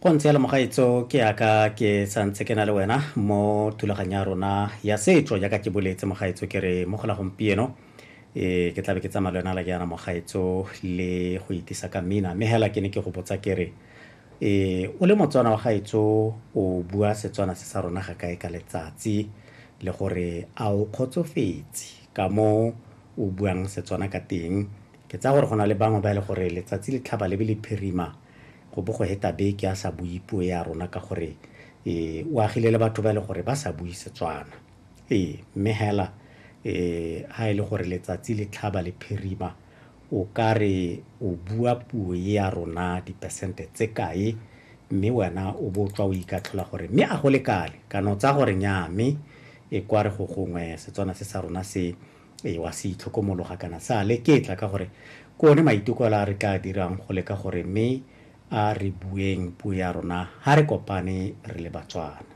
Go ntse jalo mogaetso, ke yaka ke santse ke na le wena mo thulaganyo ya rona ya setso jaaka ke boletse mogaetso ke re mo go la gompieno e ke tlabe ke tsamaya le wena la jaana mogaetso le go itisa ka mmina mme hela ke ne ke go botsa ke re e o le Motswana wa gaetso o bua Setswana se sa rona ga kae ka letsatsi le gore a o kgotsofetse ka mo o buang Setswana ka teng. Ke tsaya gore go na le bangwe ba e le gore letsatsi le tlhaba le be le phirima go bo go heta beke a sa bue puo ya rona ka gore e o agile le batho ba e le gore ba sa bue Setswana. Ee, mme hela e ha e le gore letsatsi le tlhaba le phirima o ka re o bua puo e ya rona dipersente tse kae, mme wena o bo tswa o ikatlhola gore mme a go lekale kana o tsaya gore nnyaa mme e kwa re go gongwe Setswana se sa rona se e wa se itlhokomologa kana sa leketla ka gore ke one maiteko a re tla dirang go leka gore mme a re bueng puo ya rona ha re kopane re le Batswana.